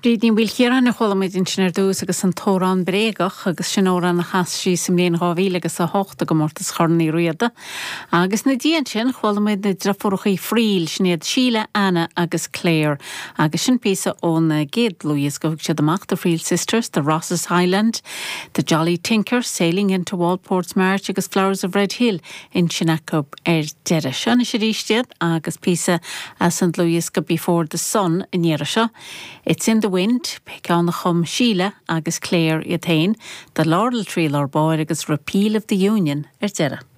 Bríd Ní Mhaoilchiaráin a chuala muid ansin ar dtús agus an t-amhrán bréagach agus sin amhrán a chas sí sa mbliain 2000 agus 8 i gcomórtas Chorn Uí Riada. Agus ina diaidh ansin chuala muid na driofúrachaí Friel, sin iad Síle, Anna agus Claire agus sin píosa óna gcéad dlúthdhiosca a thug siad amach, The Friel Sisters, The Rosses Highland, The Jolly Tinker, Sailing into Walport's March agus Flowers of Red Hill ansin acu ar deireadh. Seo anois arís iad agus píosa as an dlúthdhiosca Before the Sun an iarraidh seo. It's in the Wind, ceann a chum Síle agus Claire iad féin, The Laurel Tree lár báire agus Repeal of the Union ar deireadh.